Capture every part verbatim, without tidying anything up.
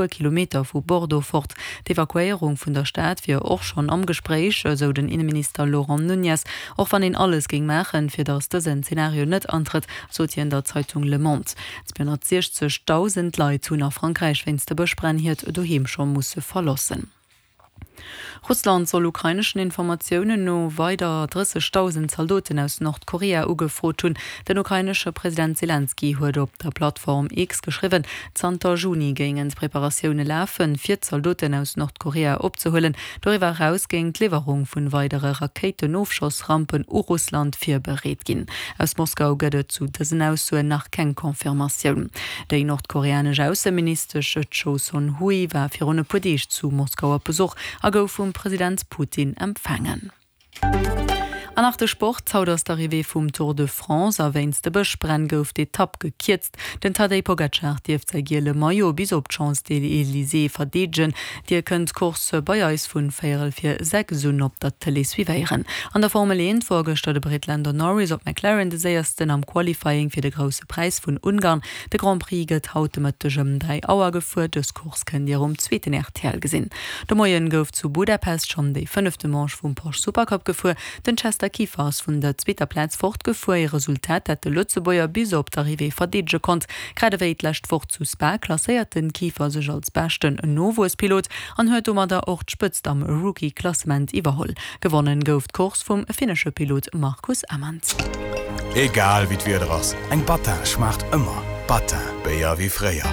Kilometer vu Bordeaux fort. D'Evakuéierung vun der Stad wier och schonn am Gespréich, esou den Inneminister Laurent Nunez. Och wann een alles géing maachen, fir datt dësen Zenario net antrëtt, sot hien der Zeitung Le Monde. zweehonnertsiechzegdausend Leit hunn a Frankräich wéinst de Bëschbränn hiert Doheem scho musse verloossen. Russland soll ukraineschen Informatiounen no weider drëssegdausend Zaldoten aus Nordkorea ugefrot hunn. Den ukrainesche President Selenskyj huet op der Plattform X geschriwwen, zanter Juni géingen d'Preparatioune lafen, fir Zaldoten aus Nordkorea opzehuelen. Doriwwer eraus géing d'Liwwerung vun weidere Rakéitenofschossrampen u Russland virbereet ginn. Aus Moskau gëtt et zu dësen Aussoen nach keng Confirmatioun. Déi nordkoreanesch Ausseministesch Choe Son-hui war virun e puer Deeg zu Moskau op Besuch a gouf vum President Putin empfaangen. An nach de Sport, Haut ass d'Arrivée vum Tour de France a wéinst de Bëschbränn gouf d'Etapp gekierzt. Den Tadej Pogacar dierft säi giele Maillot bis op d'Champs-Élysées verdeedegen. Dir kënnt d'Course bei eis vun véierel vir sechs un op der Tëlee suivéieren. An der Formel eent wor gëschter de Britt Lando Norris op McLaren de séiersten am Qualifying fir de Grousse Präis vun Ungarn. De Grand Prix gëtt haut de Mëtteg ëm dräi Auer gefuer. Dës Course kënnt Dir um zweeten R T L gesinn. De Moien gouf zu Budapest schonn déi fënnefte Manche vum Porsche Supercup gefuer. Den Chester Kieffer ass vun der zweeter Plaz fortgefuer, ee Resultat, dat de Lëtzebuerger bis op d'Arrivée verdeedege konnt. Grad ewéi d'lescht Woch zu Spa klasséiert den Kieffer sech als beschten Nowuesspilot an huet domadder och d'Spëtzt am Rookie-Klassement iwwerholl. Gewonnen gouf d'Course vum finnesche Pilot Marcus Amand. Egal wéi d'Wieder ass, eng Battin schmaacht ëmmer. Battin, Béier wéi fréier.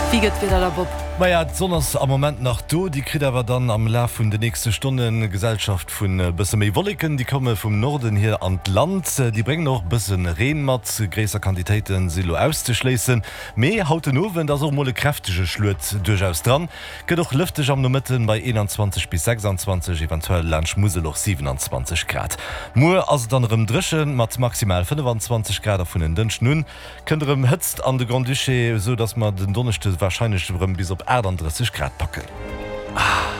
Wéi gëtt d'Wieder da, Bob? Maja, d'Sonn ass am Moment nach do, déi kritt awer dann am Laf vun de nächste Stonne Gesellschaft vun e bësse méi Wolleken. Déi komme vum Norden hier an d'Land, déi bréngen och e bësse Reen mat, gréisser Quantitéite si lo auszeschléissen. Mee haut den Owend ass och mol e kräftege Schluet duerchaus dran. Gëtt och lëfteg am Nomëtten bei eenanzwanzeg bis sechsanzwanzeg, eventuell laanscht Musel och siwenanzwanzeg Grad. Muer ass et dann erëm dréche mat maximal fënnefanzwanzeg Grad a vun en Dënschden un kënnt erëm Hëtzt an de Grand-Duché, esou dass mer den Donneschde warscheinlech erëm bis op aachtanddrësseg Grad packen.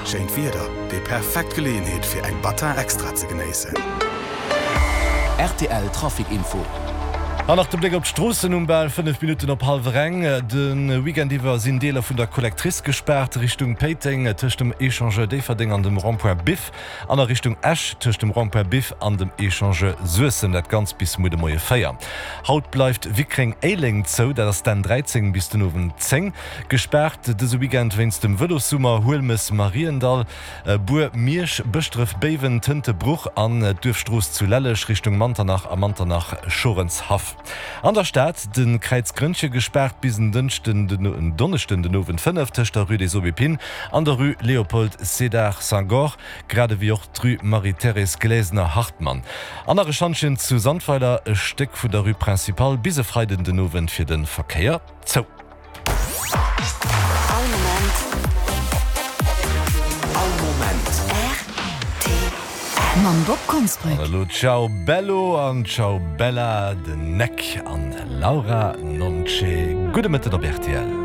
Schéint Wieder, déi perfekt Geleeënheet fir eng Battin Extra ze genéissen. R T L Trafic Info. An nach de Bléck op d'Stroossen um bal fënnef Minutten op hallwer eng. De Weekend iwwer sinn Deeler vun der Collectrice gespaart, Richtung Péiteng tëscht dem Echangeur Déifferdeng an dem Rond-point Biff an a Richtung Esch tëscht dem Rond-point Biff an dem Echangeur Suessem, dat Ganzt bis muer de Moie véier. Haut bleift Wickreng-Éileng zou, dat ass d'N dräizéng bis den Owend zéng. Gespaart dëse Weekend wéinst dem Vëlossummer, Huelmes, Mariendall, Bur, Miersch, Bëschdref, Béiwen, Tëntebruch an d'Duerfstrooss zu Lelleg Richtung Manternach a Manternach, Schorenshaff. An der Stad de Kräiz Grënnche gespaart bis en Dënschden den Donneschden den Owend fënnef tëscht der Rue des Aubépines an der Rue Léopold Sédar Senghor, grad ewéi och d'Rue Marie-Thérèse Glesener-Hartmann. An nach e Schantjen zu Sandweiler, e Stéck vun der Rue Principale bis e Freiden den Owend fir de Verkéier zou. All Moment. All Moment. R T L. Mam Bob Konsbrück. An elo Ciao Bello an Ciao Bella, den Nek an Laura Nonce. Gudde Mëtten op R T L.